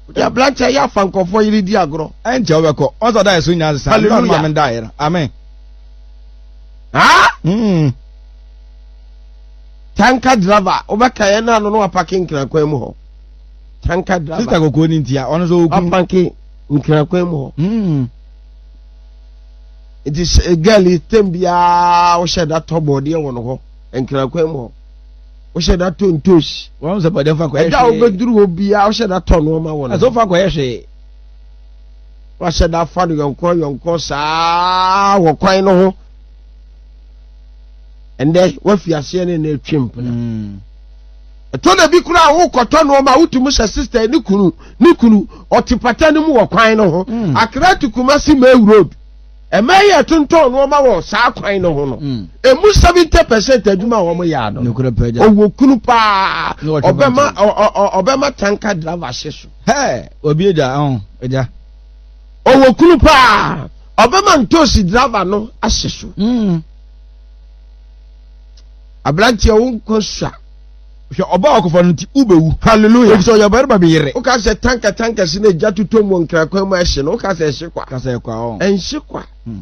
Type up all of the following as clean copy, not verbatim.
Wode aberanteɛ yɛ afa nkurɔfoɔ yere di agorɔ. Ɛnkyɛ wobɛkɔ. Ɔsɛ ɔda yɛ so nyinaa sesa. Hallelujah. Maame da yɛ no. Amen. Ha? Mm. Tanka driver, wobɛka yɛn na ano no wapake nkrakwan mu hɔ. Tanka driver. Sista kɔkɔɔ ni ntia, ɔno nso okunu. Wapake nkrakwan mu hɔ. Mm. Nti girl yi tem biara wohyɛ da tɔ bɔɔdeɛ wɔ no hɔ nkrakwan mu hɔ. Wohyɛ da tɔ ntosi. Wɔn sɛ bɔɔdeɛ fa kɔyɛ hwee. Ɛda a wobɛduru hɔ biara wohyɛ da tɔ nneɛma wɔ no. Ɛsɛ wofa kɔyɛ hwee. Wahyɛ da fa no yɔnko yɔnko saa wɔ kwan no ho. Ɛndɛ wafi aseɛ ne na atwi mpena. Mm. Ɛtɔ da bi koraa wokɔtɔ nneɛma a wotumi sɛ sista ne kunu ne kunu ɔte pata no mu wɔ kwan no ho. Mm. Accra to Kumasi May Road. Ɛmɛ yɛ tontɔn nneɛma wɔ saa kwan no ho no. Mm. Emu 70% adwuma a wɔn yɛ ano. Nokorɛ pɛ gya. Ɔwɔ kunu paa. Ne wɔtwe Ɔbɛma pata. ɔbɛma tanka driver hye so. Hɛ, obi agya, ɔn, agya. Ɔwɔ kunu paa. Ɔbɛma ntoosi driver no ahye so. Mm. Aberanteɛ wo nkwa sua. Hwɛ ɔbaa ɔkɔfa no nti wobɛwu. Hallelujah. Efisɛ ɔyɛ ɔbarima bi yere. Woka sɛ tanka tanka si na egya totɔ mu wɔ nkrakwan mu a ɛhye no, woka sɛ ɛhye kwa. Ka sɛ ɛkwa ɔn. Ɛnhye kwa. Hmm.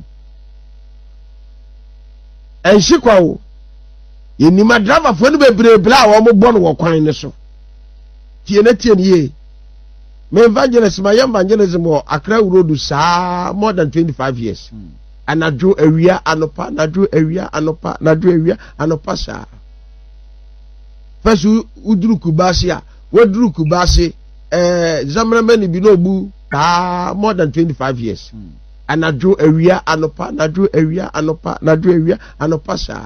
Ɛnhye kwa o. Yɛnim adravafoɔ no bebree bla a wɔbɔ no wɔ kwan no so. Tie na tie no yie. Me evangelist, mayɛ evangelism wɔ Accra Road saa more than 25 years. Hmm. Anadwo, awia, anɔpa, anadwo, awia, anɔpa, anadwo, awia, anɔpa saa. First woduru Kumasi a, waduru Kumasi, eh, Zamramani bi na ɔbu saa more than 25 years. Hmm. Anadwo, awia, anɔpa, anadwo, awia, anɔpa, anadwo, awia, anɔpa saa.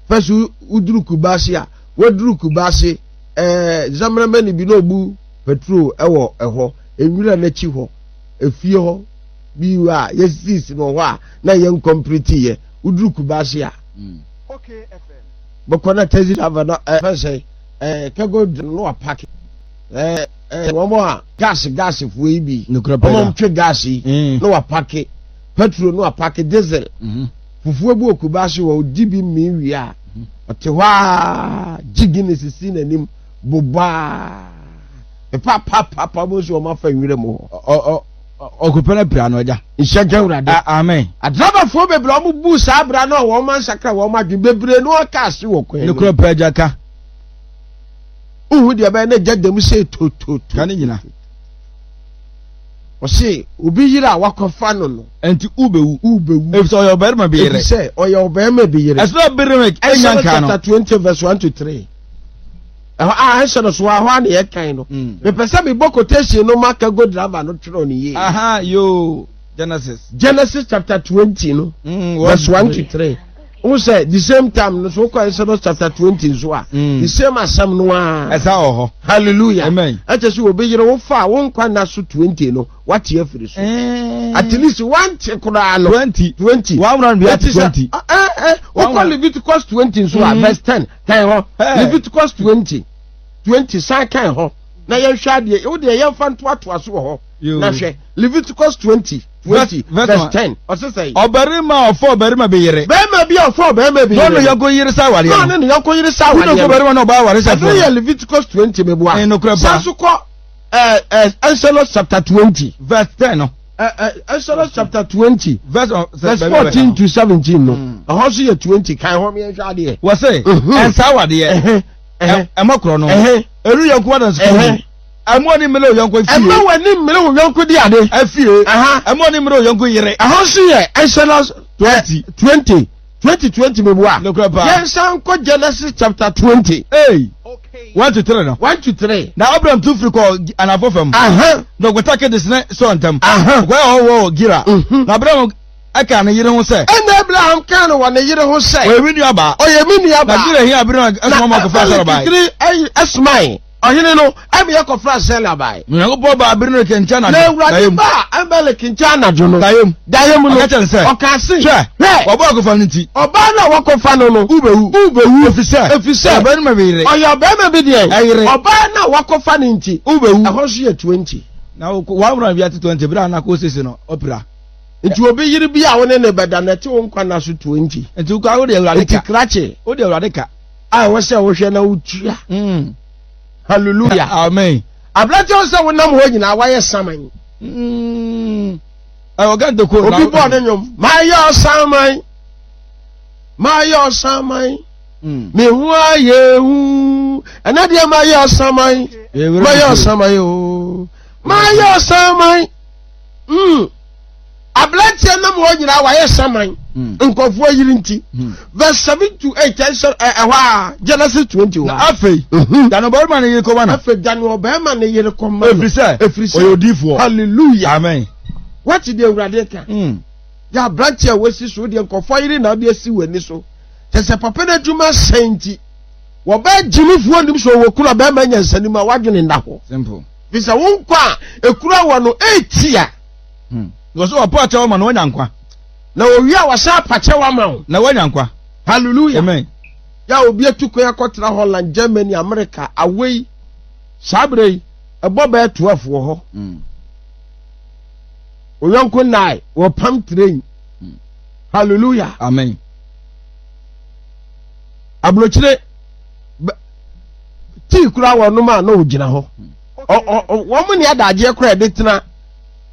First woduru Kumasi a, waduru Kumasi, eh, Zamramani bi na ɔbu petrol ɛwɔ ɛhɔ, nwura n'akyi hɔ, efie hɔ bi a yɛsisi no hɔ a na yɛn nkɔmplete yɛ. Woduru Kumasi a, Hmm. bɛkɔ na taxi driver no ɛfɛ sɛ ɛɛ kɛgo no wapaki ɛɛ ɛɛ wɔn a gas gas foɔ yi bi Nokorɛ pɛ wɔn a da. wɔtwe gas yi Mm. na wapaki petrol na wapaki diesel Mhm. fufuo bi wɔ Kumasi hɔ odi bi mmii wie a ɔte hɔ a gye Guinness si n'anim bobɔ a pepapapapa mo nso wɔn afa nwura mu hɔ. Ɔ ɔ ɔkɔpɛ no apira no agya. Nhyɛ nka Awurade. Amen. Adrabafoɔ bebree a wɔn bu saa abira no a wɔn ansakra wɔn adwene bebree no aka ase wɔ kwan mu. Nokorɛ pɛ agya ka. Wohu deɛ ɛbɛyɛ na gya dam sɛ tototo. Ka ne nyina. Ɔse obi yere a wakɔfa no no. Ɛnti wobɛwu. Wobɛwu. Efisɛ ɔyɛ ɔbarima bi yere. Efisɛ ɔyɛ ɔbarima bi yere. Ɛsɛ Abimelek anya Exodus nka no. chapter 20 verse 1 to 3. Ɛhɔ a ɛhyɛ no so a ɛhɔ a na yɛkan no. Mm. Mepɛ sɛ mebɔ quotation no ma Kago driver no twerɛ no yie. Aha yoo Genesis. Genesis chapter 20 no. Mm, verse 1 to 3. Wo sɛ the same time no so wokɔ Exodus chapter 20 nso a. Mm. The same asɛm no ara. Ɛsa wɔ hɔ. Hallelujah. Amen. Ɛkyɛ sɛ obi yere wo fa a wo nkwa nna so 20 no wate afiri so. Eh. At least wante koraa no. 20. 20. One round bi ate Ɛti sɛ, 20. ah, eh, eh, wokɔ Leviticus 20 nso a Mm. verse 10 kan hɔ. Hey. Leviticus 20 20 san kan hɔ na yɛnhwɛ adeɛ wo deɛ yɛmfa ntoatoa so wɔ hɔ Yo. na hwɛ Leviticus 20 20 Verse- verse verse 10 ɔse sɛ Ɔbarima a ɔfa ɔbarima bi yere. bɛrima bi a ɔfa ɔbarima bi Na ɔne yere no, yɔnko yere sa awareɛ na no. ɔne ne yɔnko yere sa Wone awareɛ kɔ no barima na ɔbaa aware ɛno sɛfoɔ yɛ no. Leviticus 20 meboa Eh, nokorɛ paa. san so kɔ eh, eh, Exodus chapter 20 Verse 10 no. Eh, eh, Exodus chapter 20 Verse, verse 14 to 17 no Mm. ɛhɔ nso yɛ 20 kan hɔ meɛnhwɛ adeɛ Wɔ se, Mhm. ɛnsa awadeɛ. Ɛhɛ, ɛhɛ, Ɛmɔ korɔ no. ɛhɛ, Ɛnu yɔnko adansi kuro mu. ɛhɛ. Ɛmɔ ni mmele oyɔnko efie. Ɛmma w'ani mmere wo yɔnko di ade. Efie. Aha. Ɛmɔ ni mmere oyɔnko yere. Ɛhɔ nso yɛ Exodus 20. 20 20 20 mebua. Nokorɛ paa. Yɛnsan nkɔ Genesis chapter 20. Ei. 1 to 3 no. 1 to 3. Na Abram tu firi kɔɔ anafo fam. Aha. Na ɔkɔta Kades ne Sur ntam. Aha. Ɔkɔyɛ hɔ wɔ Gira. Mhm. Na Abram ɛkaa ne yere ho sɛ. Ɛna Abraham kaa no wɔ ne yere ho sɛ. Ɔyɛ me nuabaa. Ɔyɛ me nuabaa. Na Gira hia Abimelek ɛsoma ma ɔkɔfra Sara bae. Na Abimelek ɛsomae. Ɔhene no ɛma yɛkɔfra Sela bae. Na Onyankopɔn baa Abimelek nkyɛn anadwo. Na Awurade baa Abimelek nkyɛn anadwo no. Dayem. Dayem no. Ɔka kyerɛ no sɛ. Ɔka se. Hwɛ. Hwɛ. Wɔbɔ akɔfa no nti. Ɔbaa no a wɔkɔfa no no. Wobɛwu. Wobɛwu. Efisɛ. Efisɛ. Ɔyɛ ɔbarima bi yere. Ɔyɛ ɔbarima bi deɛ. Ɛyere. Ɔbaa no a wɔkɔfa no nti. Wobɛwu. Ɛhɔ nso yɛ 20. Na wɔn wura bi ate 20 bere a na kɔ sese no ɔpira. Nti obi yere bi a wo ne ne bɛda no ɛte wo nkwa nna so 20. Nti wokɔ wode Awurade ka. Nti krakye. Wode Awurade ka. A ɛwɔ sɛ wohwɛ na wotua. Mm. Hallelujah. Amen. Aberanteɛ wo sɛ wonam hɔ nyinaa wayɛ saman. Mm. Ɔga ntoko. Obi bɔɔ ne nnwom. Mayɛ ɔsaman. Mayɛ ɔsaman. Mm. Me ho ayɛ hu. Ɛnɛ deɛ mayɛ ɔsaman. Mayɛ ɔsaman o. Mayɛ ɔsaman. Mm. Aberanteɛ nam hɔ nyinaa wayɛ saman. Hmm. Nkurɔfoɔ yiri nti. Hmm. Verse 7 to 8 ɛsɛ ɛhɔ a Genesis 21. Na afei mhm. dane ɔbarima ne yere kɔma no. Afei dane ɔbarima ne yere kɔma no. Efiri sɛ efiri sɛ ɔyɛ odiifoɔ. Hallelujah. Amen. Wati deɛ Awurade ka. Hmm. Yɛ aberanteɛ a wasi so deɛ nkurɔfoɔ yere na ɔde asi w'ani so. Kyɛ sɛ papa no adwuma sɛn nti wɔbɛɛ gyimifoɔ nim sɛ ɔwɔ kunu a bɛrima nyansanim a wadwene nna hɔ. Simple. Fi sɛ wo nkwa a ekura wɔ no etia. Hmm. Na ɔsɛ ɔpa akyɛw ama na wanya nkwa. Na owie a wɔsan apa kyɛw ama wo. Na wanya nkwa. Hallelujah. Amen. Yɛ a obi atu kwan akɔtena Holland, Germany, America, awei. Saa berɛ yi, ɛbɔ bɛyɛ 12 wɔ hɔ. Mm. Oyɔnko nnae, wɔpam train. Mm. Hallelujah. Amen. Aburokyire, tii koraa wɔnom a na wɔgyina hɔ. Hmm. Wɔn ne adagyeɛ koraa ɛde tena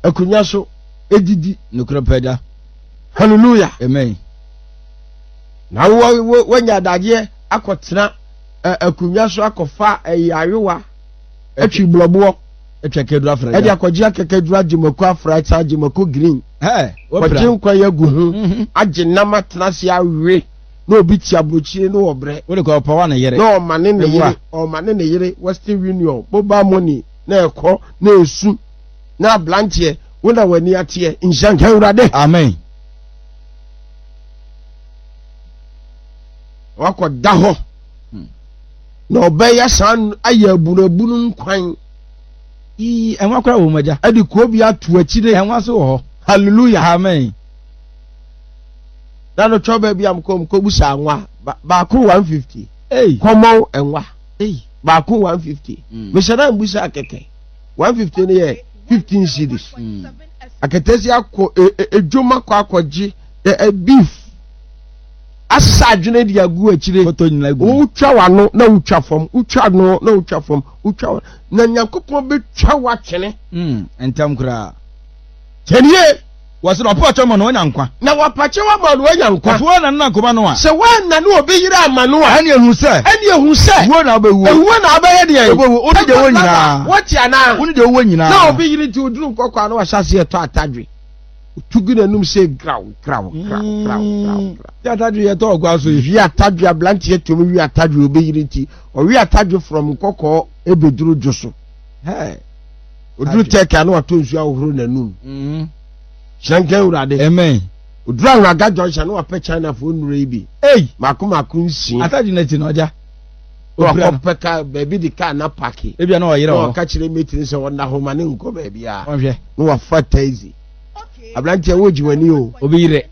akonnwa so edidi. Nokorɛ pɛ da. Hallelujah. Amen. Na wo wanya adagyeɛ akɔtena akonnwa so akɔfa ɛyɛ ayowa atwi blɔboɔ. Atwa akɛduru afra. Ɛde akɔgye akɛkɛduru agye mako afra ɛsan agye mako green. Kɔgye nkwan agu ho mhm. agye nam atena ase awe na obi ti aburokyire na ɔbrɛ. Wode kɔ ɔpɔwa ne yere. Na ɔma ne ne yere ɔma ne ne yere Western Union mobile money na ɛkɔ na esu. Na abranteɛ wo na w'ani ateɛ nhyira nka awurade. Amen. Wakɔ da hɔ hmm. na ɔbɛyɛ saa ayɛ abunabunu nkwan. Ii ɛnwa kora wɔ mu agya. Ɛde kuo bi ato akyire. Ɛnwa so wɔ hɔ. Hallelujah. Amen. Na no twɛ baabi a mkɔ mkɔ busa anwa baako 150. Hey. Kɔmɔn ɛnwa. Hey. Baako 150. Mm. Mehyɛ dɛ mbusa kɛkɛ. 150 no yɛ 15 cedis mm. akatasi akɔ edwom akɔ akɔgye beef asesa adwene de agu akyire wotwa w'ano na wotwa fam wotwa ano na wotwa fam wotwa na nyankopɔn bɛtwa w'atwene mm, ntɛm koraa kyɛnie Wɔsi na ɔpa ɔkyɛw ma no wanya nkwa. Na wɔpa kyɛw ama no wanya nkwa. Ɔfo wɔn na nkɔma no a. Sɛ wɔanna ne obi yere ama no a. Ɛne ehu sɛ. Ɛne ehu sɛ. Wuo na ɔbɛwuo. Ewuo na ɔbɛyɛ deɛ. Ɔbɛwuo. Wo ne deɛ ɔwɔ nyinaa. Wɔte anaa. Wo ne deɛ ɔwɔ nyinaa. Na obi yere nti oduru nkɔkɔ a na wahyɛ aseɛ tɔ atadwe. Otu gu n'anum sɛ graw graw graw graw graw. Wi atadwe yɛ tɔ ɔkwa so yi. Wi atadwe abranteɛ tuom wi atadwe obi yere nti ɔwe atadwe from nkɔkɔɔ ebeduru dwo so. Hey. Oduru tɛki a na watɔ nsuo ahohoro n'anum. Mm. Hyerɛnka Awurade. Amen. Oduru Ahuraga junction na wapɛ Chinafoɔ nnuro yi bi. Ei! Mako mako nsia. Atadwe n'akyi na ɔgya. Na wakɔpɛ kaa baabi de kaa na paki. Ebia na ɔyere hɔ. Na ɔka kyerɛ mate no sɛ ɔnna hɔ ma ne nkɔ baabi a. Ɔnhwɛ. Na wafa taxi. Aberanteɛ wogye w'ani o. Obi yere.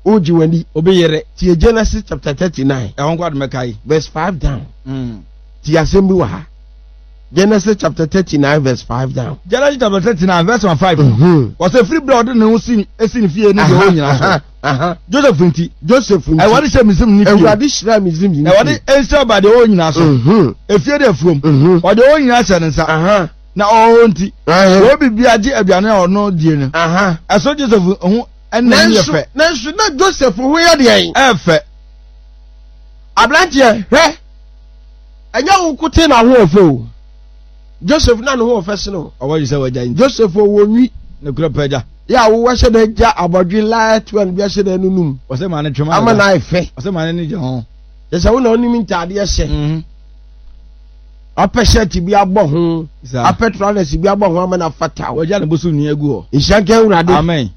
Wogye w'ani. Obi yere. Tie Genesis chapter 39. Ɛhɔ nko adomɛka yi. Verse 5 down. Mm. Tie asɛm bi wɔ ha. Genesis chapter 39 verse 5 down. Genesis chapter 39 verse 5. Wɔsɛ firi bere a ɔde ne ho si esi ne fie ne deɛ ɔwɔ nyinaa so. Joseph nti. Joseph nti. Awurade hyɛ Misrim ne fie. Awurade hyira Misrim ne fie. Awurade nhyira ba deɛ ɔwɔ nyinaa so. Efie de afuom. Ɔde ɔwɔ nyinaa hyɛ ne nsa. Na ɔwɔ nti. Wɔn biribi agye aduane a ɔno die no. Ɛso Joseph ho ɛna yɛ fɛ. Nanso na Joseph ho yɛ deɛn? Ɛfɛ. Aberanteɛ hwɛ. Ɛnyɛ wo nkote na ho ɔfɛ o. Joseph na ne ho ɔfɛ sene o. Ɔwɔ yi sɛ wagya nti. Joseph ɔwɔ nwi. Ne kura pɛ gya. Yɛ a wowɔ hyɛ dɛ gya abɔdwe light one bi ahyɛ dɛ nunum. Ɔsɛ maa ne twema. Ama na ayɛ fɛ. Ɔsɛ maa ne ni gya ho. Kyɛ sɛ wo na onim ntaadeɛ hyɛ. Mhm. Apɛ shirt bi abɔ ho. Apɛ trousers bi abɔ ho ama na fata wo. Wagya ne bosom nwi agu hɔ. Nhyira nka Awurade. Amen.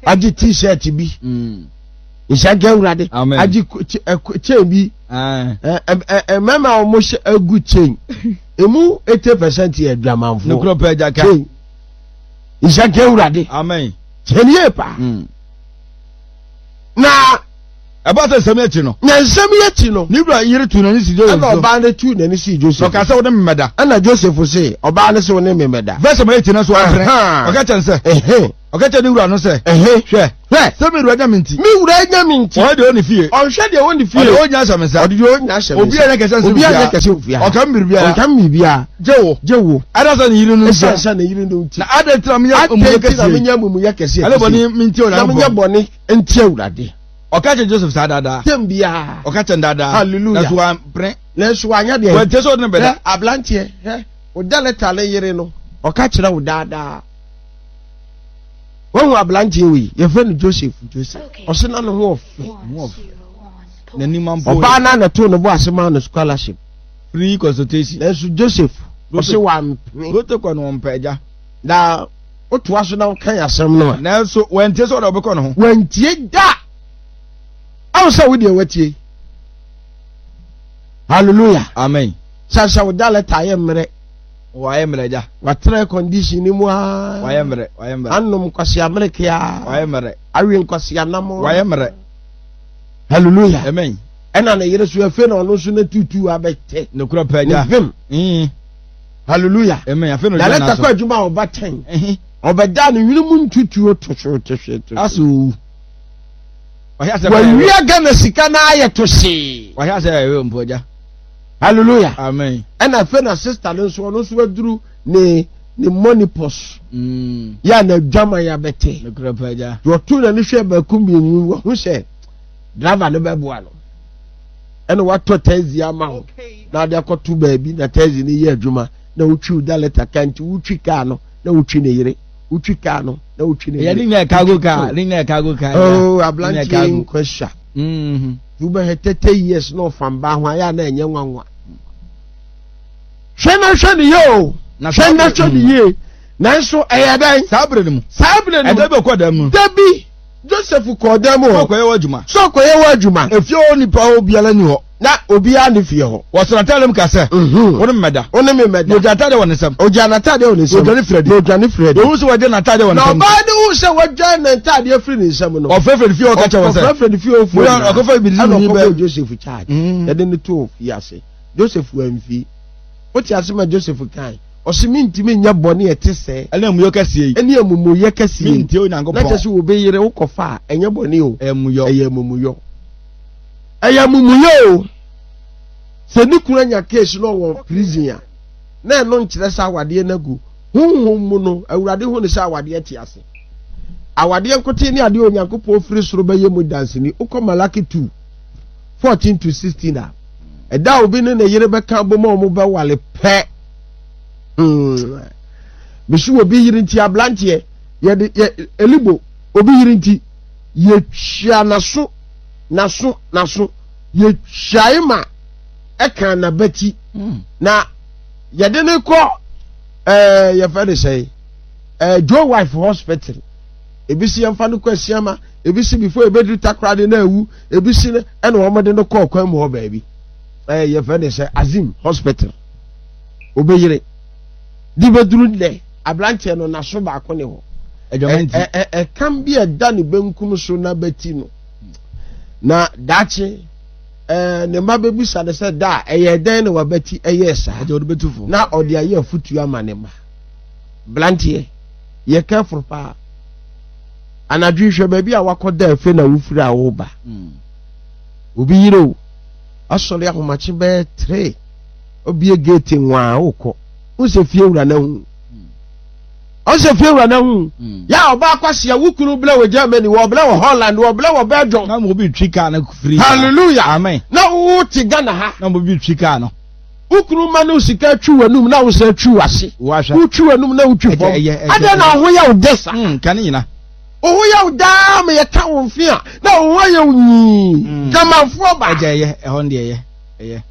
Agye t-shirt bi. Mm. Nhyira nka Awurade. Amen. Agye chain bi. Mmarima a wɔn hyɛ agu chain. Emu 80% yɛ adwamanfoɔ. Nokoro pɛ agya ka. Chain. Nhyira nka Awurade. Amen. Chain yie paa. Mm. Na ɛba sɛ nsɛm akyi no. Na nsɛm yi akyi no. Ne wura yere tuu n'ani sii Joseph so. Ɛna ɔbaa no tuu n'ani sii Joseph. Na ɔkaa sɛ, Wo ne me mmɛda. Ɛna Joseph se, ɔbaa no se, Wo ne me mmɛda. Verse ma eti no so ɔmpene. Ɔka kyerɛ no sɛ. Ɔka kyerɛ ne wura no sɛ. Hwɛ. Hwɛ. Sɛ me wura nya me nti. Me wura nya me nti. Ɔhwɛ deɛ ɔwɔ ne fie. Ɔnhwɛ deɛ ɔwɔ ne fie. Ɔde ɔnya ahyɛ me nsa. Ɔde deɛ ɔnya ahyɛ me nsa. Obiara nyɛ kɛse nsen obiara nyɛ kɛse ofie ha. Ɔka me biribiara. Ɔnka me biribiara. Gye wo. Gye wo. Ɛna sɛ ne yere no nti. Ɛsiane sɛ ne yere no nti. Na adɛn nti na menyɛ amumuyɛ kɛseɛ yi? Adɛn nti na menyɛ amumuyɛ kɛseɛ? Ɛne bɔne nti Onyankopɔn. Na menyɛ bɔne nti Awurade. Ɔka kyerɛ Joseph saa daadaa. Tɛm biara. Ɔka kyerɛ no daadaa. Hallelujah. Nanso wampene. Nanso wanyɛ deɛ. Wantie sɛ ɔde no bɛda. Hwɛ aberanteɛ hwɛ wo da lɛta ne yere no ɔka kyerɛ wo daadaa. Wahu aberanteɛ wei yɛfrɛ no Joseph. Joseph. Ɔse na ne ho ɔfɛ. N'anim ampo. Ɔbaa no na too ne bo ase maa no scholarship. Free consultation. Nanso Joseph ɔse wampene. Protocol no wɔmpɛ agya. Na wotoa so na wokan asɛm no a. Nanso wantie sɛ ɔde ɔbɛkɔ ne ho. Wantie da. Awo sɛ wo deɛ watie. Hallelujah. Amen. Sɛ sɛ wo da lɛta ayɛ mmerɛ. Wayɛ mmerɛ agya. Watena condition ni mu aa. Wayɛ mmerɛ wayɛ mmerɛ. Anom nkwasi amereke aa. Wayɛ mmerɛ. Awe nkwasi anam. Wayɛ mmerɛ. Hallelujah. Amen. Ɛna ne yere so afei na ɔno nso ne tutu abɛtɛ. Nokura pɛ agya. Ne vim. Mm. Hallelujah. Amen. Afei na ɔgyina n'aso. Lɛta kɔ adwuma a ɔba tɛn. Ɔbɛda ne hwene mu ntutuo tohwee tohwee tohwee. Aso owu. Wawia Ghana sika na ayɛ tohwee. Wahyɛ asɛ ɛyɛ mpo agya. Hallelujah. Amen. Ɛna afei na sista no nso ɔno nso aduru ne ne money purse. Mm. Yɛ a n'adwaman abɛte. Nokura pɛ agya. Deɛ ɔto n'ani hwɛ baako mmienu wahu sɛ driver no bɛboa no. Ɛna watɔ taxi ama wo na ade akɔto baabi na taxi no yɛ adwuma na wotwi wo da lɛta ka nti wotwi kaa no na wotwi ne yere wotwi kaa no na wotwi ne yere. Ɛyɛ ne nyɛ cargo car ne nyɛ cargo car. Oh aberanteɛ nkwa sua. Mm-hmm. Wobɛhwɛ 30 years na ɔfa mbaa ho ayɛ a na ɛnyɛ nwanwa. Hwɛ na hwɛ ne yie o. Hwɛ na hwɛ ne yie. Nanso ɛyɛ dɛn? Saa bere no mu. Saa bere no mu. Ɛda bi ɔkɔ dan mu. Da bi Joseph kɔɔ dan mu hɔ. Sɛ ɔkɔyɛ wɔ adwuma. Sɛ ɔkɔyɛ wɔ adwuma. Efie hɔ nipa hɔ biara ni hɔ. Na obiara ne fie hɔ. Wɔsɔ n'ataade mu ka sɛ. Mhm. Wo ne me mmɛda. Wo ne me mmɛda. Na ogya n'ataade wɔ ne nsam. Ogya n'ataade wɔ ne nsam. Na odwane firi adi. Na odwane firi adi. Na ohun sɛ wɔagya n'ataade wɔ ne nsam. Na ɔbaa no hu sɛ wɔagya n'ataade afiri ne nsam no. Ɔfrɛfrɛ ne fie hɔ ka kyerɛ wɔn sɛ. Ɔfrɛfrɛ ne fie hɔ fo nyinaa. Ɔkɔfa bi Ɛna ɔkɔbɔɔ Joseph charge. Yɛde no too fie ase. Joseph amfi. Wote ase ma Joseph kae. Ɔse mentumi nyɛ bɔne a ɛte sɛɛ. Ɛne amumuyɔ kɛseɛ yi. Ɛne amumuyɛ kɛseɛ yi. Mentie Onyankopɔn. Na kyerɛ sɛ obi yere wokɔfa a, ɛnyɛ bɔne o. Ɛyɛ amumuyɔ. Ɛyɛ amumuyɔ. Ɛyɛ amumuyɔ o. Sɛ ne kunu anya case na ɔwɔ prison a, na ɛno nkyerɛ sɛ awadeɛ no agu. Honhom mu no, Awurade hu no sɛ awadeɛ te ase. Awadeɛ nkotee ne adeɛ Onyankopɔn firi soro bɛyɛ mu danseni. Wokɔ Malaki 2, 14 to 16 a, ɛda a obi ne ne yere bɛka abom a wɔbɛwale pɛ. Hmm. Mesi obi yere nti abranteɛ yɛde yɛ elibo obi yere nti yɛtwa n'aso n'aso n'aso yɛtwae ma ɛka n'abati hmm. na yɛde ne kɔ ɛɛ eh, yɛfɛ ne sɛ ɛɛ eh, Joe wife hospital ebi si yɛmfa no kɔ asiama ebi si before ebeduru takoradi na ewu ebi si ɛna wɔn de no kɔ ɔkwan mu hɔ baabi ɛɛ eh, yɛfɛ ne sɛ Azim hospital. Obeyere de bɛduru nnɛ, aberanteɛ no n'aso baako ne hɔ. Ɛkam bi a ɛda ne benkum so n'abati no. Na daakye ne mma bɛbisa no sɛ da a ɛyɛ dɛn na wabati ɛyɛɛ saa. Na ɔde ayɛ afutuo ama ne mma. Beranteɛ, yɛ careful paa. Anadwo yi hwɛ baabi a wakɔda afei na wofiri a woba. Hmm. Obi yere o, asɔre ahomakye bɛyɛ tere. Obie gate nwaa wokɔ. Wo sɛ fie wura na hu. Ɔsɛ fie wura na hu. Hmm. Ya ɔba akwasia wo kunu blɛ wɔ Germany, wɔ blɛ wɔ Holland, wɔ blɛ wɔ Belgium. Na mo bi twi kaa no free. Hallelujah. Amen. Na wo te Ghana ha. Na mo bi twi kaa no. Wo kunu ma no sika twi w'anum na wo sɛ twi w'ase. Wo twi w'anum na wo twi fam. Adɛn na wo ho yɛ wo dɛ sa. Hmm, ka ne nyina. Wo ho yɛ wo daa ma yɛka wo mfe a na wo ho ayɛ wo nyii. Hmm. Dwamanfoɔ ba. Ɛgya ɛyɛ, ɛhɔ no deɛ ɛyɛ, ɛyɛ.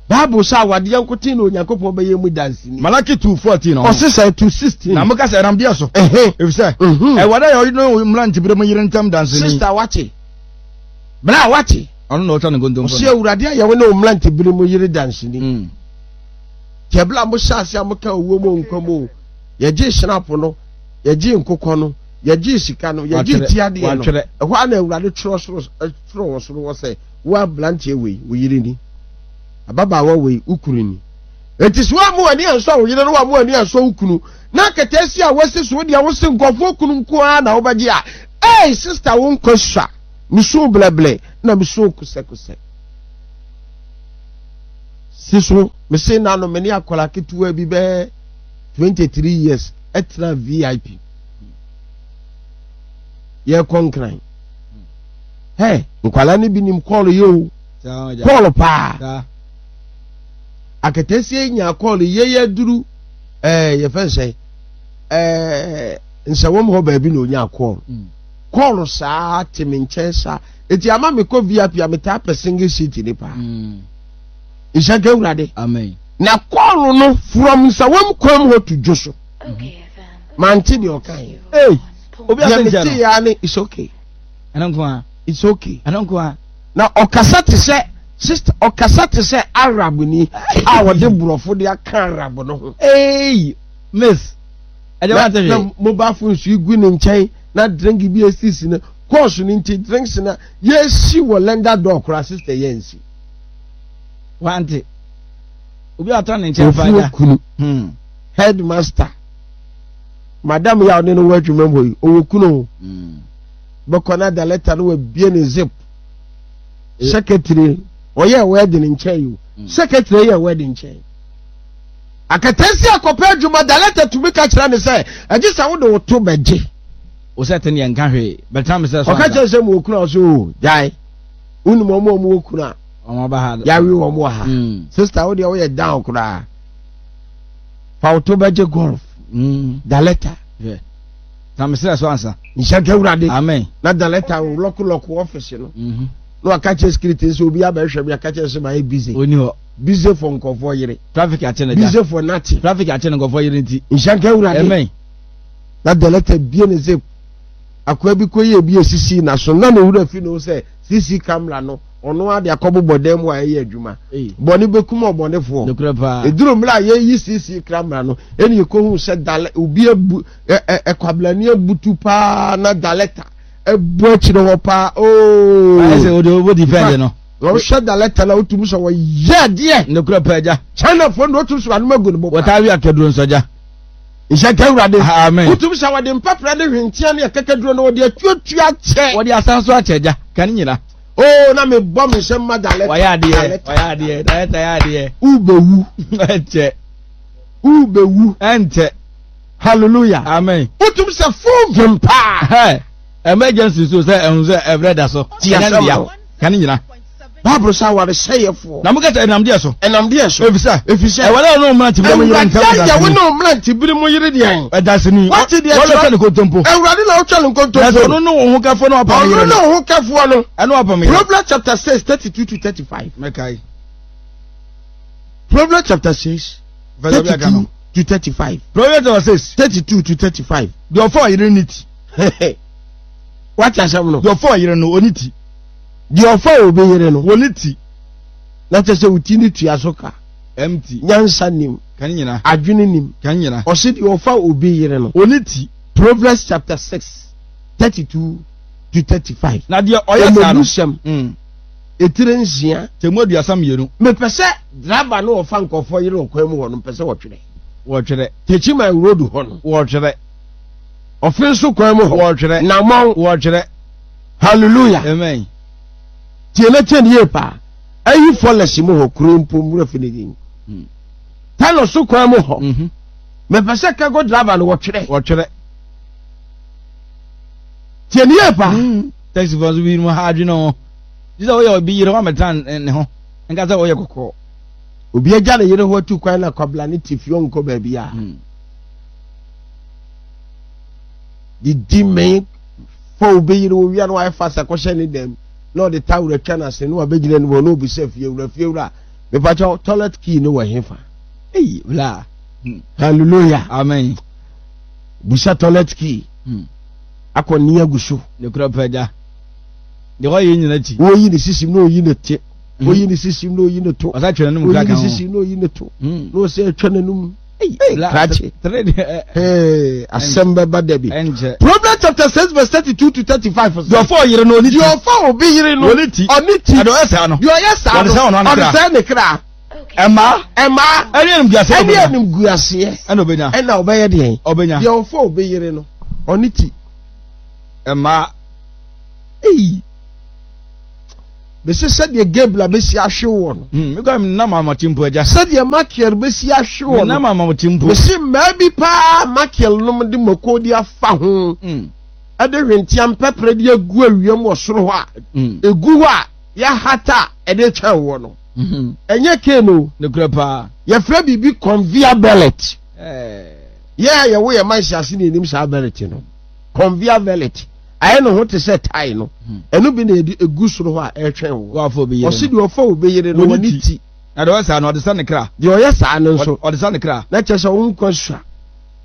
Bible sɛ awadeɛ nkoten na Onyankopɔn bɛyɛ mu danseni. Malaki 2:14 ɔho. Ɔse sɛ 2:16. Na moka sɛ ɛnam deɛ so. Efisɛ mhm. Awurade ayɛ ɔne wo mmerantebere mu yere ntam danseni. Sista wate. Bra wate. Ɔno na ɔtwa ne nkontompo. Ɔse Awurade ayɛ wo ne wo mmerantebere mu yere danseni. Mm. Kyɛ bere a mohyɛ ase a moka owuo mu nkwa mu o, yɛgyee hyinapo no, yɛgyee nkokɔ no, yɛgyee sika no, yɛgyee tiadeɛ no. Ɛhɔ a na Awurade twerɛ soro twerɛ wɔ soro hɔ sɛ wo aberanteɛ wei wo yere ni. Ababaawa wei, wo kunu ni. Enti sɛ woamma w'ani ansɔ wo yere na woamma w'ani ansɔ wo kunu, na akataasia a woasi so deɛ wose nkurɔfoɔ kunu nko ara na wobɛgye a, ei sista wo nkwa sua. Mesu blɛblɛ na mesu kosɛkosɛ. Si so, mese na no me ne akwadaa ketewa bi bɛyɛ 23 years ɛtena VIP. Yɛkɔ nkran. Hɛ, nkwadaa no bi nim kɔɔlo yɛ o. Kɔɔlo paa. Aketesia yi nyaa kɔɔlo yɛ yɛ duru ɛɛ yɛfɛ nsɛn ɛɛ nsɛwɔm hɔ baabi na onyaa kɔɔlo. Mm. Kɔɔlo saa te me nkyɛn saa. Eti ama mekɔ VIP a metaa pɛ single seat ni paa. Mm. Nhyɛ nka Awurade. Amen. Na kɔɔlo no from nsawam kwan mu hɔ to dwo so. Mante deɛ ɔka yɛ. Hey, obi asɛ nkyɛn no. Deɛ mete ya ne it's okay. Ɛno nko a. It's okay. Ɛno nko a. Na ɔkasa te sɛ sister ɔkasa te sɛ Arab ni a ɔde borɔfo de aka Arab no ho. Hey, miss. Ɛdeɛ wante hwee. Na mobile phone so gu ne nkyɛn na drink bi esisi no kɔɔso no nti drinks na yɛsi wɔ lender door koraa sister yɛn nsi. Wante. Obi a ɔtɔ ne nkyɛn fa agya. Ofuo kunu. Hmm. Headmaster. Madam yɛ a ɔne no wɔ adwuma mu hɔ yi, ɔwɔ kunu o. Hmm. Bɛkɔ na da letter no wabie ne zip. Eh. Secretary, ɔyɛ wedding nkyɛn yi o. Hmm. Secretary yɛ wedding nkyɛn. Akatasi akɔpɛ adwuma da letter tumi ka kyerɛ ne sɛ, ɛgye sɛ wode wo to bɛgye. Wo sɛ ten yɛ nka hwee. Bɛtena me sɛ so. Ɔka kyerɛ sɛ mu okunu a ɔsɛ o, gyae. Wonim wɔn a wɔwɔ kunu a. Wɔn aba ha. Yɛawe wɔn wɔ ha. Mm. Sister, wo deɛ woyɛ down koraa. Fa wo to bɛgye golf. Mm. Daleta. Yeah. Na mesrɛ so ansa. Nhyɛ nka Awurade. Amen. Na daleta wo lɔko lɔko office no. Mm -hmm. Na waka kyerɛ security sɛ obi abɛhwɛ me aka kyerɛ sɛ mayɛ busy. Oni hɔ. Busy for nkɔfoɔ yere. Traffic akye ne gya. Busy for nothing. Traffic akye ne nkɔfoɔ yere nti. Nhyɛ nka Awurade. Amen. Na daleta bie ne zip. Akoa bi kɔyɛ bi esisi n'aso na ne wura fi no sɛ CC camera no ɔno ara de akɔbobɔ dan mu a ɛyɛ adwuma. Bɔne bɛkum ɔbɔnefoɔ. Ɛduru mmerɛ a yɛyi CC camera no ɛne yɛkɔhu sɛ dale obi abu ɛkwablani abutu paa na daleta abu akyire hɔ paa ooo. Ayɛ sɛ wode wobɔ defend no. Wɔhwɛ daleta na wotumi sɛ wɔyɛ adeɛ. Nokorɛ paa agya. Chinafoɔ no wotumi sɛ wɔanom agu ne bo paa. Wɔtaa we akaduro nso agya. Nhyɛ nka Awurade. Amen. Wotumi sɛ wɔde mpaprɛ ne hwentia ne akakaduro no wɔde atuatua akyɛ. Wɔde asan so akyɛ agya. Ka ne nyina. Oo na mebɔ me nsɛm ma daleta. Wɔyɛ adeɛ. Wɔyɛ adeɛ. Daleta yɛ adeɛ. Wobɛwu. Ɛnkyɛ. Wobɛwu. Ɛnkyɛ. Hallelujah. Amen. Wotumi sɛ fon vim paa. Emergency so sɛ ɛhu sɛ ɛbrɛ da so. Ti asɛm no. Ka ne nyina. Bible sɛ awaresɛeɛfoɔ. Na moka sɛ ɛnam deɛ so. Ɛnam deɛ so. Efisɛ. Efisɛ. Ɛwɔre a ɔne mmerante bere mu yere ntam Awurade ayɛ wo ne mmerante bere mu yere deɛn. Ɛdaseni. Wate deɛ kyerɛ. Wɔn ne nkontompo. Awurade na ɔtwa ne nkontompo. Na sɛ ɔno ne wo ho kɛfoɔ na wapam yere no. Ɔno ne wo ho kɛfoɔ no. Ɛna wapam yere. Proverbs chapter 6 32 to 35. Mɛkae. Proverbs chapter 6 32 to 35. Proverbs chapter 6 32 to 35. Deɛ ɔfa ɔyere ne ti. Wate asɛm no. Deɛ ɔfa ɔyere no ɔne ti. Deɛ ɔfa obi yere no. Wɔ ne ti. Na kyerɛ sɛ wo ti no tua so ka. Empty. Nyansa nim. Kan nyina. Adwene nim. Kan nyina. Ɔse deɛ ɔfa obi yere no. Wɔ ne ti. Proverbs chapter 6 32 to 35. Na deɛ ɔyɛ saa no. Mmebusɛm. Mm. Etire nsia. Temu 32. Mepɛ sɛ driver no ɔfa nkurɔfoɔ yere ɔkwan mu hɔ no mpɛ sɛ wɔtwerɛ. Wɔtwerɛ. Techiman road hɔ no. Wɔtwerɛ. Ɔfe nso kwan mu hɔ. Wɔtwerɛ. Namɔn. Wɔtwerɛ. Hallelujah. Amen. Tie na tie ne yie paa. Ayi fɔlɛsi mu hɔ kuro mpo nwura fi ne din. Hmm. Tano so kwan mu hɔ. Mhm. Mepɛ sɛ cargo driver no wɔtwerɛ. Wɔtwerɛ. Tie ne yie paa. Hmm. Taxi fɔ nso bi mu ha adwene ho. Gye sɛ woyɛ obi yere wɔamɛtena ne ho. Nka sɛ woyɛ kɔkɔɔ. Obi agya ne yere ho atu kwan na kwabla ne te fie ɔnkɔ baabi a. Hmm. Didi mmɛn fa obi yere owia na wayɛ fasa kɔhyɛ ne dɛm na ɔde tawura atwa n'ase na wabɛgyina anim hɔ na obisa fie wura fie wura mepakyɛ toilet key no wɔ hefa. Eyi wura. Hmm. Hallelujah. Amen. Busa toilet key. Hmm. Akɔ ne agu so. Ne kura pɛgya. Deɛ ɔyɛ nyina akyi. Woyi ne sisim na oyi ne te. Hmm. Oyi ne sisim na oyi ne to. Ɔsa twɛ n'anum Oyi kura ne kan ho. sisim na oyi ne to. Hmm. Na ɔsɛ atwa n'anum. Hey, krakye. Eh, asɛm bɛba da bi. Ɛnkyɛ. Proverbs chapter 6 verse 32 to 35. Deɛ ɔfa ɔyere no ɔne ti. Deɛ ɔfa obi yere no ɔne ti. Ɔne ti. Deɛ ɔyɛ saa no. Deɛ ɔyɛ saa no. Ɔde sɛ ɔno Ɔde sɛ ne kra. Ɛmaa. Ɛmaa. Ɛne animguaseɛ. Ɛne animguaseɛ. Ɛna ɔbɛnya. Ɛna ɔbɛyɛ deɛn? Ɔbɛnya. Deɛ ɔfa obi yere no, ɔne ti. Ɛmaa. Eyi. Bɛsɛ sɛdeɛ Gabriel bɛsi ahwe wɔ no. Hmm, mekɔ menam amɔte mpo agya. Sɛdeɛ Makiel bɛsi ahwe wɔ no. Menam amɔte mpo. Mesi mmaa bi paa Makiel nom de mako de afa ho. Hmm. Ɛde hwentia mpɛprɛ de agu awiam wɔ soro hɔ a. Hmm. Egu hɔ a yɛahata a ɛde twɛn wɔ no. Ɛnyɛ cane o. Nokorɛ paa. Yɛfrɛ biribi conveyor belt. Eh. Yɛ a yɛwo yɛ ma nhyɛase na yɛnim saa belt no. Conveyor belt. Ayɛ ne ho te sɛ tae no. Hmm. Ɛno bi na yɛde egu soro hɔ a ɛretwɛn wo. Ɔsi deɛ ɔfa obi yere no wɔ ne ti. Na deɛ ɔyɛ saa no ɔde sa ne kra. Deɛ ɔyɛ saa no nso. Ɔde sa ne kra. Na kyerɛ sɛ wo nkwa sua.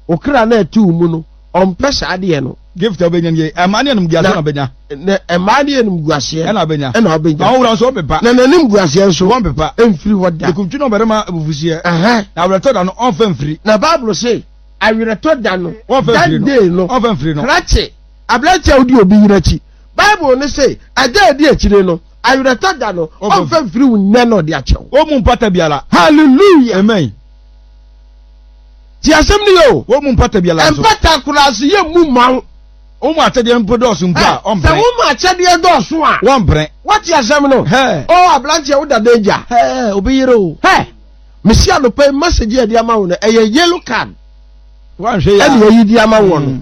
Wo kra na ɛte wo mu no ɔmpɛ saa deɛ no. Gift a ɔbɛnya nie ɛmaa ne animguaseɛ na ɔbɛnya. Na ɛmaa ne animguaseɛ. Ɛna ɔbɛnya. Ɛna ɔbɛnya. Na ɔwura nso ɔmpepa. Na n'animguaseɛ nso. Wɔmpepa. Ɛmfiri hɔ da. Nikuntwe na ɔbarima abufuhyeɛ. Na awerɛtɔ da no ɔmfa mfiri. Na Bible se awerɛtɔ da no. Wɔmfa mfiri no. That day no. Ɔmfa mfiri no. Krakye aberanteɛ a wodi obi yere akyi. Bible no se ɛda a ɛdi akyire no awerɛtɔ da no ɔmfa mfiri wo nnɛ na ɔde akyɛ wo. Ɔmmu mpata biara. Hallelujah. Amen. Ti asɛm no yɛ o. Wɔn mu mpata biara nso. Mpata koraa so yɛ mu ma wo. Wɔn mu akyɛdeɛ mpo dɔɔso mpo a, ɔmpene. Sɛ wɔn mu akyɛdeɛ dɔɔso a. Wɔmpene. Wɔte asɛm no. Hɛɛ. O aberanteɛ wo da danger. Hɛɛ obi yere o. Hɛ. Mesi anɔpa yi message yɛ de ama wo no ɛyɛ yellow card. Wɔnhwɛ yɛ. Ɛna yɛyi de ama wɔ no.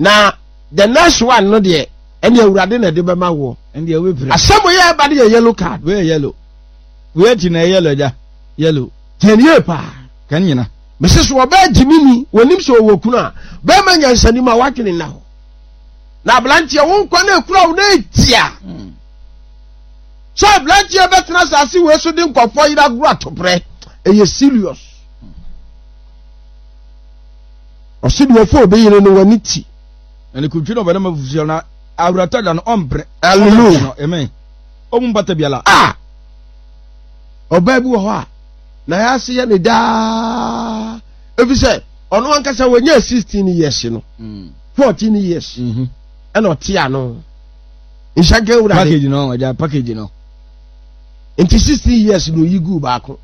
Na the next one no deɛ ɛne awurade na ɛde bɛma woɔ. Ɛndeɛ wobɛpira. Asɛm yɛ ɛba no yɛ yellow card. Wei yɛ yellow. Wei akyi na ɛyɛ yellow agya. Yellow. Tiɛ nie paa. Kan nyina. Mese so ɔbaa gyimi ni wɔnim sɛ ɔwɔ kunu a bɛrima nyansani ma wadwene nna hɔ na aberanteɛ wo nkwa no akura wo na ɛtia hmm. sɛ aberanteɛ bɛtena asase wei so de nkɔfoɔ yere agorɔ atoprɛ ɛyɛ serious ɔse deɛ ɔfo obi yere no w'ani ti ɛne kuntwi na ɔbɛdɛ ma fufuo na awurata da no ɔmpere hallelujah amen ɔmu mpata biala ah ɔbaa bi wɔ hɔ a na yɛase yɛ ne daa efi sɛ ɔno ankasa wɔnyɛ 16 years no 14 hmm. years mhm. ɛna ɔte ano nhyɛnka wura de package no ɔgya package no nti 16 years na oyi gu baako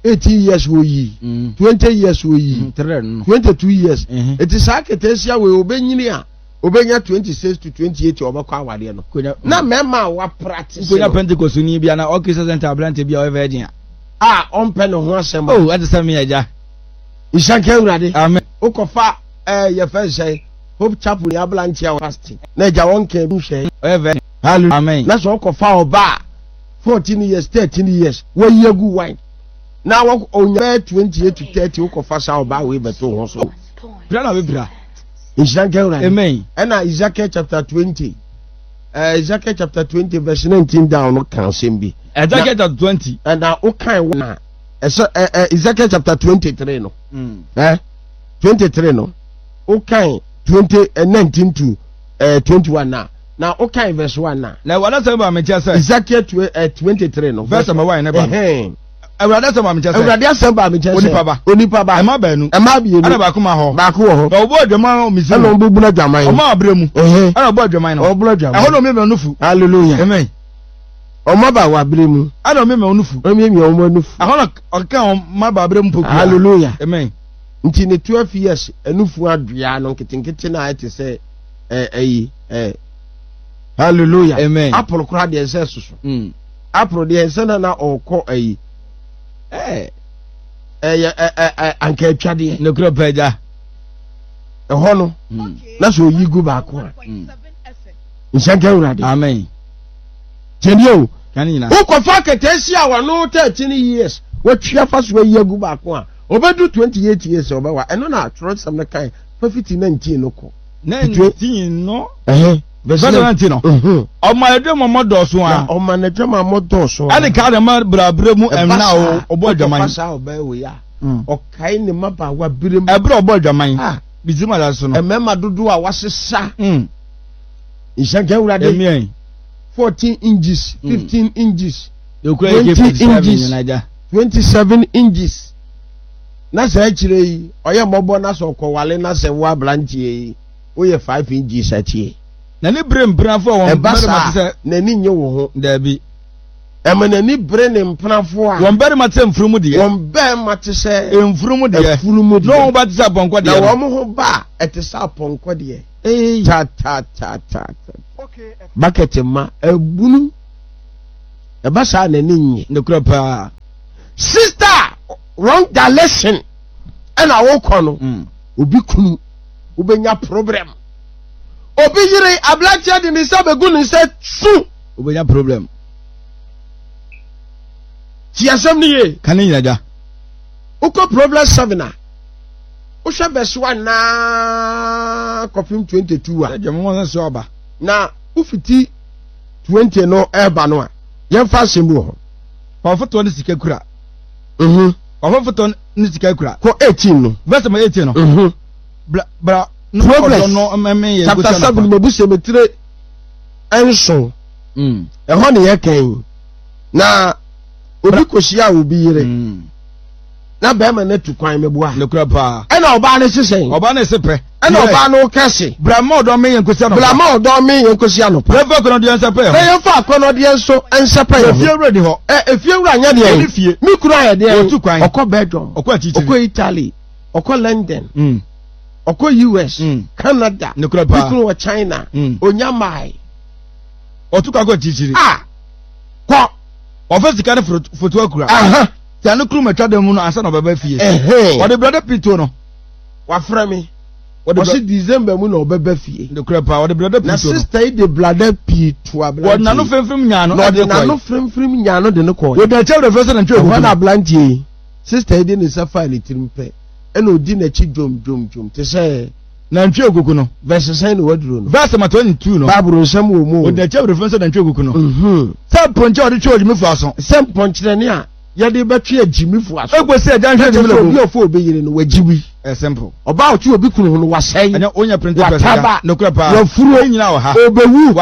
18 mhm. years oyi 20 mhm. years oyi 22 years nti saa ketesia wei obenyini a obenya 26 to 28 ɔbɛkɔ awadeɛ no na mmarima a wapractice no konya pentecost ni bi ana ɔkisa center aberante bi a ɔyɛ virgin a a ɔmpɛ ne ho asɛm a oh ɛte sɛ me agya nhyɛnka awurade amen wokɔfa ɛɛ yɛfɛ nsɛn hope chapel ni aberante a fasting na agya wɔn kɛn bi hwɛ ɔyɛ virgin hallelujah amen na sɛ ɔkɔfa ɔba a 14 years 13 years wayi agu wine na wɔ onya bɛyɛ 28 to 30 wokɔfa saa ɔbaa wei bɛto ho so pira na bɛpira Nhyira nka Awurade. Amen. Ɛna Ezekiel chapter 20. Uh, Ezekiel chapter 20 verse 19 down no ka asɛm bi. Ezekiel chapter 20. Ɛna wokan wɔ na ɛsɛ ɛ ɛ Ezekiel chapter 23 no. Mm. Eh, 23 no. Wokan 20 eh, 19 to eh, 21 na. Na wokan verse 1 na. Na Awurade asɛm baa me nkyɛn sɛ. Ezekiel 23 no. Verse number 1 ne ba. Ɛhɛn. Awurade asɛm baa me nkyɛn sɛ. Awurade asɛm baa me nkyɛn sɛ. Onipa ba. Onipa ba. Ɛma baanu. Ɛma mmienu. Ɛna baako ma hɔ. Baako wɔ hɔ. Na ɔbɔ adwaman wɔ Misraim. Ɛna ɔbɛbunu adwaman. Ɔma abere mu. Ɛna ɔbɔ adwaman no. Ɔbɔ adwaman. Ɛhɔ na ɔmiamia nufu. Hallelujah. Amen. Ɔma ba wɔ abere mu. Ɛna ɔmiamia nufu. Ɔmiamia wɔn nufu. Ɛhɔ na ɔkeka wɔn ma ba abere mu pokua. Hallelujah. Amen. Nti ne 12 years nufu adua no nketenkete na ayɛ te sɛ ɛɛ ɛyi ɛɛ. Hallelujah. Amen. Apple koraa deɛ nsɛ soso. Mm. April deɛ nsɛ na na ɔkɔ ayi ɛɛ ɛyɛ ɛ ɛ anka atwadeɛ. Nokorɛ pɛ agya. Ɛhɔ no hmm. na sɛ oyi gu baako a hmm. nhyɛnka awurade. Amen. Tiɛni o. Wokɔfa akataasia a wano 13 years watwi afa so ayi agu baako a ɔbɛdu 28 years ɔbɛwa ɛno na atwerɛsɛm no kan fa fiti 19 no kɔ. 19 no. Ɛhɛn. Verse 19 no. Mhm. Ɔma n'adwamammɔ dɔɔso a. Na ɔma n'adwamammɔ dɔɔso a. Ɛne kaa ne mma brabere mu Ɛba ɛmna saa, ɔbɔ adwaman. wokɔfa saa ɔbaa wei a, Mm. ɔkae ne mmabaawa berem. Ɛberɛ a ɔbɔ adwaman. Ah. Misraim asase so no. Mmarima dodoɔ a wasesa. Mm. Nhyɛ nka Awurade. Amen. 14 inches, 15 inches, Deɛ okura 20 AK-47 inches, nyina agya. 27 inches. Na saa akyire yi, ɔyɛ mmɔbɔ na sɛ ɔkɔwale na sɛ wo aberanteɛ yi, woyɛ 5 inches akyie. N'ani bere mpenafo a wɔn Ɛba mmarima saa te sɛ. a, n'ani nnye wo ho. Daabi. Ɛma n'ani bere ne mpenafoɔ a. Wɔn barima te sɛ mfunumu deɛ. Wɔn barima te sɛ. Mfunumu deɛ. Mfunumu deɛ. Na wɔn ho ba te sɛ apɔnkɔ deɛ. Na wɔn ho ba a ɛte sɛ apɔnkɔ deɛ. Ee. Ta ta ta ta ta. Bucket ma abunu. Ɛba saa n'ani nye. Nokorɛ paa. Sister wrong direction ɛna wokɔ no. Mm. Obi kunu wobɛnya problem. Obi yere aberanteɛ de ne nsa bɛgu ne nsa su. Wobɛnya problem. Ti asɛm no yie. Ka ne nyina gya. Wokɔ problem 7 a, wohwɛ verse 1 naa kɔpem 22 a. Ɛdwa mo wɔn sɛ ɔba. Na wofiti 20 no ɛreba no a, yɛmfa asɛm bi wɔ hɔ. Ɔfotoɔ ne sika kura. Mhm. Ɔfofotoɔ ne sika kura. Kɔ 18 no. Verse number 18 no. Mhm. Bra bra no Proverbs ɔdɔ no mmɛmɛ yɛ chapter 7 mabu sɛ metire nson. Mm. Ɛhɔ ne yɛka yi. Na obi kɔhyia obi yere. Mm. Na bɛrima no atu kwan meboa. Nokura paa. Ɛna ɔbaa no sesɛn. Ɔbaa no se pɛ. Ɛna ɔbaa no kɛse. Bra ma ɔdɔ me yɛn kɔsi anɔpa. Bra ma ɔdɔ me yɛn kɔsi anɔpa. Yɛmfa akɔnɔdeɛ nsɛpɛ yɛn ho. Na yɛmfa akɔnɔdeɛ nso nsɛpɛ yɛn ho. Efie wura ni hɔ. Ɛ efie wura nyɛ deɛ. Ɔni fie. Me kunu ayɛ deɛ. Ɔtu kwan. Ɔkɔ Belgium. Ɔkɔ akyirikyiri. Ɔkɔ Italy. Ɔkɔ London. Mm. Ɔkɔ US. Mm. Canada. Nokura paa. Me kunu wɔ China. Mm. Onya mae. Ɔtu kwan kɔ akyirikyiri. A kɔ. Ɔfɛ sika ne foto akura. Aha. Tia ne kuru matwa dan mu no ansa na ɔbɛba fie. Ɛhɛn. Ɔde brɛdɛ pii to no. Wafrɛ me. Ɔsi December mu na ɔbɛba fie. Nokorɛ paa, ɔde brada pii Na to no. sister yi de brada pii to aberanteɛ Wɔde n'ano yi. fremfrem nyaa no Na de ɔde no kɔe. n'ano fremfrem nyaa no de no kɔe. Wɔdi n'akyi awerɛfirɛ sɛ nantwie Ɛhɔ ahuhu na no. aberanteɛ yi, sister yi de ne nsa faa ne tirim pɛ, ɛna ɔdi n'akyi dwom dwom dwom te sɛ. Nantwie akuku no. Verse sɛn na waduro no? Verse number 22 no. Bible nsɛm wɔ mu o. Wɔdi n'akyi awerɛfirɛ sɛ nantwie akuku no. Mhm. Sɛ mpɔnkye a wɔde twe ogyimifo aso. Sɛ mpɔnkyerɛne a yɛde bɛtwe agyimifo aso. Ekosi agya nhwɛ Na kyerɛ gyimile sɛ mu. obi a ɔfa obi yere no, wagyi bi. Ɛyɛ simple. Ɔbaa a ɔte obi kunu ho no, wasɛe. Ɛnyɛ wonya printing press Wataba. agya. Nokorɛ paa. Wafuro. Ne nyinaa wɔ ha. Ɔbɛwu.